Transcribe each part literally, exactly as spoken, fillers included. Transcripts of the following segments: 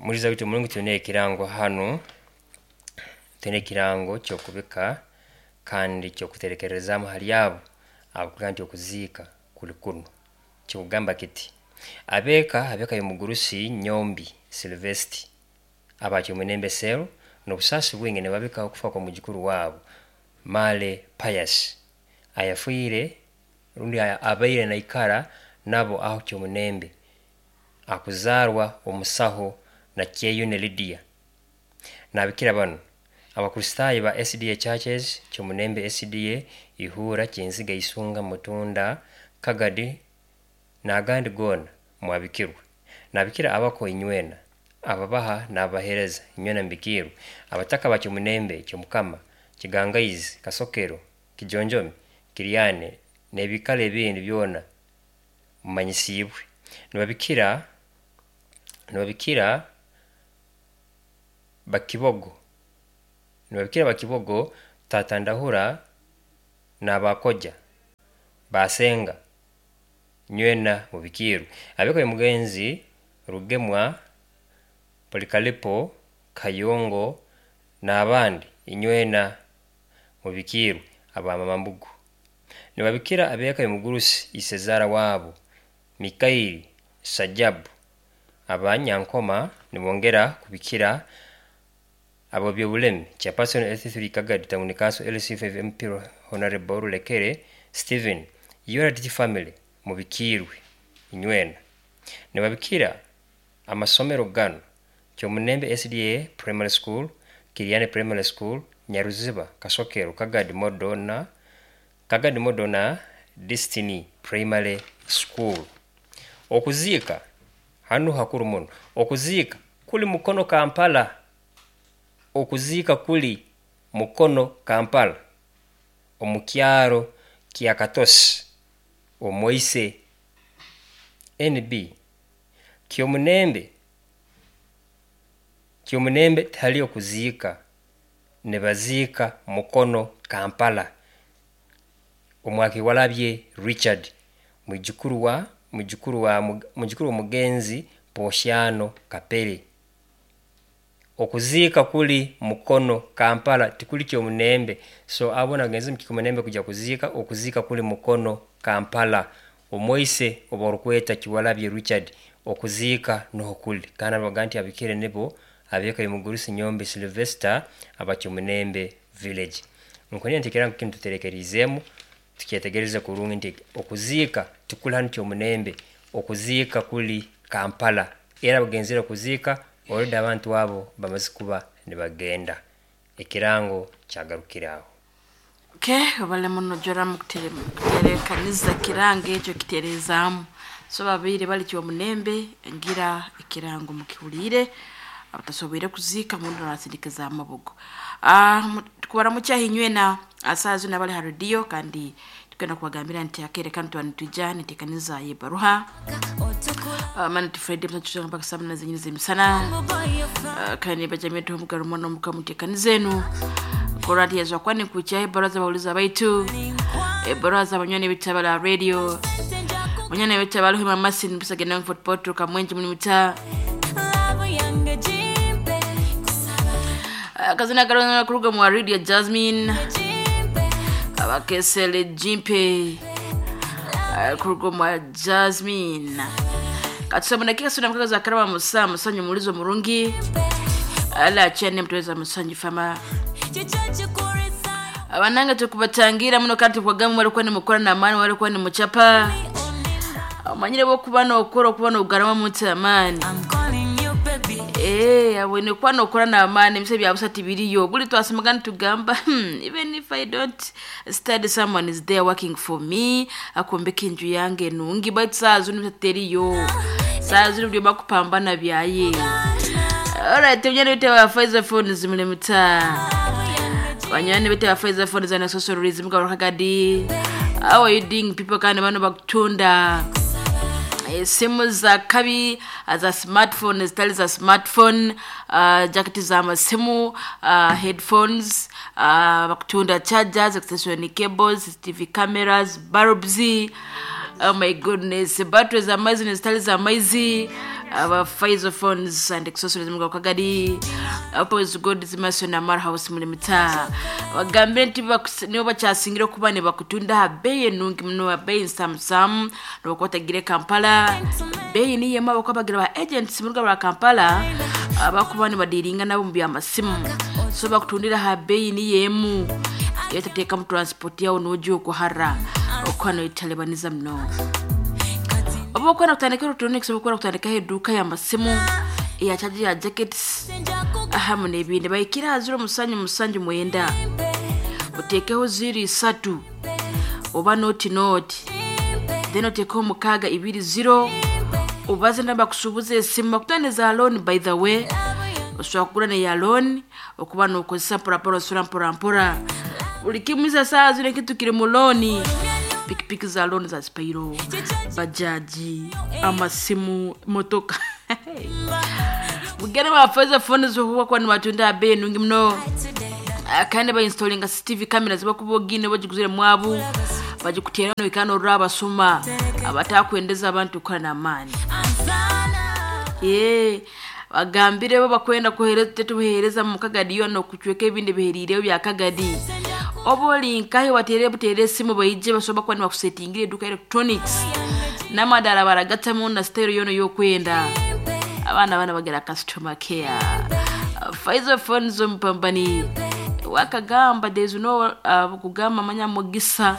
Muliza witu mulungu, twine ekirango hanu, twine ekirango ky'okubika kandi ky'okuterekerezaamu hali abo abakugira nti okuziika kuli kunu. Kikugamba kiti, abeeka abeeka y'omugurusi Nyombi Silvesti abakyomunembe cell n'obusaasi bwingi nibabika okufa kw'omwijukuru waabo Male Pius ayafiire rundi abaire naikara nabo aho Kyomunembe, akuzaarwa omusaho na Kyeyune Lydia. Nabikira banu Abakristaayo ba S D A Churches, Kyomunembe S D A, Ihura, Kinziga, Isunga, Mutunda, Kagadi n'agandi goona mwabikirwe. Nabikira abako inywena, ababaha n'abaheereza inywena mubikirwe. Abataka ba Kyomunembe, Kyomukama, Kigangaizi, Kasokero, Kijonjomi, Kiryane n'ebikaro ebindi byona mumanyisiibwe. Nibabikira nibabikira Bakibogo, nibabikira Bakibogo, Tata Ndahura n'abakoja Basenga nywena mubikirwe. Abeko y'omugenzi Rugemwa, Polikalipo, Kayongo n'abandi inywena mubikirwe abamambugu. Nibabikira abeeka y'omugurusi Isezaara waabo Mikairi Sajabu abanyankoma nibongera kubikira abo by'obulemi Chairperson L C three Kagadi Town Council L C five M P Honorable Rulekere Stephen U R D T family mubikirwe inywena. Nibabikira amasomero gano Kyomunembe S D A Primary School, Kiryane Primary School, Nyaruziba, Kasokero, Kagadi Modona, Kagadi Modona Destiny Primary School. Okuziika hanu hakuru muno. Okuziika kuli Mukono Kampala. Okuziika kuli Mukono Kampala omu kyaro kya Katosi Omoise N B Kyomunembe Kyomunembe tihali okuziika, nibaziika Mukono Kampala. Omwakiwalabye Richard mwijukuru wa mwijukuru wa mwijukuru w'omugenzi Poshyano Kapere. Okuziika kuli Mukono Kampala, tikuli Kyomunembe. So abo nagenze mu Kyomunembe kujya kuziika, okuziika kuli Mukono Kampala. Omoise oba orukweta Kiwalabye Richard, okuziika nuho kuli. Kandi abaga nti abikire nibo abeeka y'omugurusi Nyombi Sylvester aba Kyomunembe village. Nkunira nti ekirango kinu tuterekeriizeemu tukyetegereze kurungi nti okuziika tikuli hanu Kyomunembe, okuziika kuli Kampala. Era bagenzere kuziika already abantu abo bamaze kuba nibagenda. Ekirango kyagarukire aho. Okay, obale muno joramu kuterekaniza kirango ekyo kiterezaamu. So babaire bali Kyomunembe ngira ekirango mukihuliire abatasoboire kuziika mundu nasindikiza amabugo. Ah, tukubara mukyahinywena asazu nabali ha radio kandi tukenda kubagambira nti akere kandi twanitujja nitekaniza yebaruha. Uh, mani Friday mtachuza mpaka saa nane zenyine zemisana. Uh, kandi bajamii tu mugarumo no mukamutekanizenu. Korati yazwa kwani kucha baraza bauliza baitu. E baraza banywani bitabala radio. Banywani bitabala hima masin bisagena Fort Portal kamwenje muni mita. Uh, kazina karona kuruga mu radio Jasmine. Abakesele Jimpe. Uh, kuruga mu Jasmine. Katusaba dakika sura mkazo za karama musa musanyu mulizo murungi. Ala chene mtuweza musanyu fama. Abananga tukubatangira muno kandi tukagamu walikuwa ni mukora na amani walikuwa ni muchapa. Amanyire bo kuba no okora kuba no ugarama mutse amani. Eh, abone kuba no okora na amani mise bya busati biriyo. Buli twasimagana tugamba, hmm, even if I don't study someone is there working for me. Akombeka inju yange nungi but sazu nimtateriyo. Sazu ndio bakupambana byaye. Alright, tunyane bite wa Pfizer phones mule muta. Banyane bite wa Pfizer phones na socialism ka rakagadi. How are you doing people kandi bano bakutunda simu za kabi za smartphone zitali za smartphone, uh, jacket za masimu, uh, headphones, uh, bakutunda chargers, extension cables, T V cameras, bulbs. Oh my goodness, batteries za maizi na zitali za maizi, Aba Pfizer phones and accessories mu Kagadi, Opposite God's Mason na Mar House muri mitaa. Bagambire nti bakus- nibo bakyasingira okuba ne bakutunda ha beeyi enungi muno, ha beeyi nsamusamu nobakwatagire Kampala beeyi niyo emu. Abakuba bagira ba agents mu ruga rwa Kampala abakuba nibadiringa nabo mu byamasimu, so bakutundira ha beeyi niyo emu, etateekamu transport yawe noja okuhara okuba noyetalebaniza muno. Oba okwenda kutandika electronics, oba okwenda kutandikaho eduuka y'amasimu, eya charger, ya jackets ahamu n'ebindi, bahikire aha ziro musanju musanju mwenda, oteekeho ziro isatu oba noti noti, then oteekeho mukaaga ibiri ziro, obaze nabakusuubuza esimu bakutane za loan. By the way, osobola kugura neya loan okuba nokozesa mporampora, osura mporampora. Buli kimu isa saa zino ekintu kiri mu loan: pikipiki za loan za Spiro, bajaji, amasimu, motoka. Mugende bafeza fone zokuba kuba nibatunda abeeyi nungi muno. Ah, kandi bainstalinga C C T V camera zibakuba ogine bagiguzire mwabu bagikutera noikana orora abasuma abatakwendeza abantu kukora n'amaani. Ye bagambire bo bakwenda kuhereza, tetubuhereza mu Kagadi yono kucweka ebindi biherireyo bya Kagadi. Oba oli nkahe, watere butere esimu baije basobola kuba nibakusetingira eduka electronics n'amadala baragatamu na style yono yokwenda. Abaana bana bagira customer care. Pfizer phones ompambani wakagamba there's no uh, kugamba manya mugisa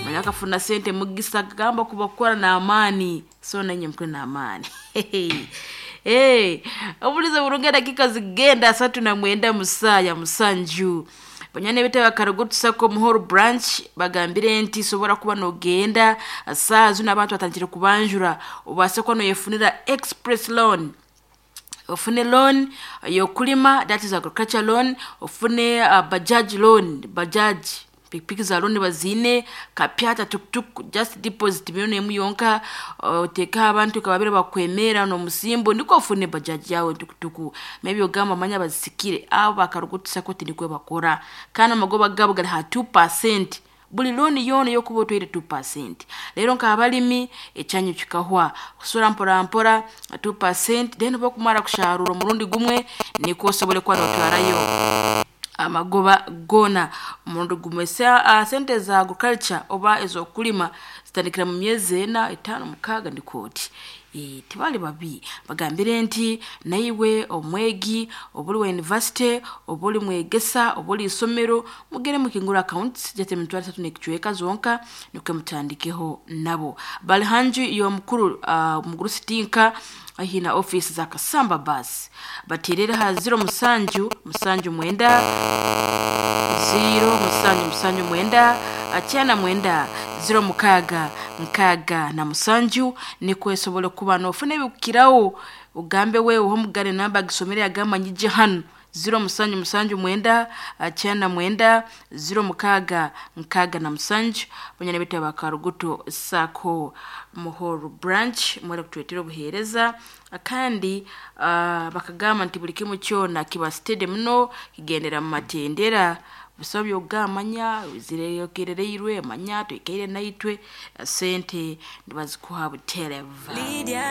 manya akafuna sente mugisa kagamba kubakora n'amaani, so nanye mukore n'amaani. Hey, obuliza burungi, dakika zigenda asatu na mwenda musaa ya musanju. Banyane bita bakarugutu Sacco Muhoro branch bagambire nti sobola kuba nogenda saa zino, abantu batandikire kubanjura, obase kuba noyefunira express loan, ofune loan yokulima, that is agriculture loan, ofune uh, bajaj loan, bajaj pikipiki za loan bazine, kapyata, tuktuk, just deposit milioni emu yonka, oteekaho abantu kababire bakwemera n'omusimbo niko ofune bajaj yawe, tukutuku. Maybe ogamba manya bazisikire abo bakarugutu Sacco tinikwe bakora, kandi amagoba gabo gali ha two percent buli looni yoona eyokuba otwaire two percent. Rero nk'abalimi ekyanyu kikahwa kusura mpora mpora two percent, then bokumara kusharura omurundi gumwe nikwo osobole kuba notwarayo amagoba gona omurundi gumwe. Sa- uh, sente za agriculture oba ez'okulima zitandikira mu myezi ena, etaano, mukaaga ndikooti. E, tibali babi. Bagambire nti naiwe omwegi oba oli wa university oba oli mwegesa oba oli isomero, mugere mukingura accounts jate emitwaro esatu n'ekicweka zonka nikwe mutandikeho nabo. Bali hanju y'omukuru uh, mukuru sitinka ahina office za Kasamba bus, baterere ha ziro musanju musanju mwenda, ziro musanju musanju mwenda akyana mwenda ziro mukaaga nkaaga na musanju, nikwo esobole kuba nofuna ebikukirawo. Ugambe wewe omugane namba gisomere agamba nyije hano ziro musanju musanju mwenda akyana mwenda ziro mukaaga nkaaga na musanju. Banyana bita bakaruguto Sacco Muhoro branch mwere kutuletera obuheereza, kandi uh, bakagamba nti buli kimu kyona kiba steady muno, kigendera mu matendera busabe byogamanya zirekerereirwe manya twikaire naitwe sente nibazikuha butereva. Lydia.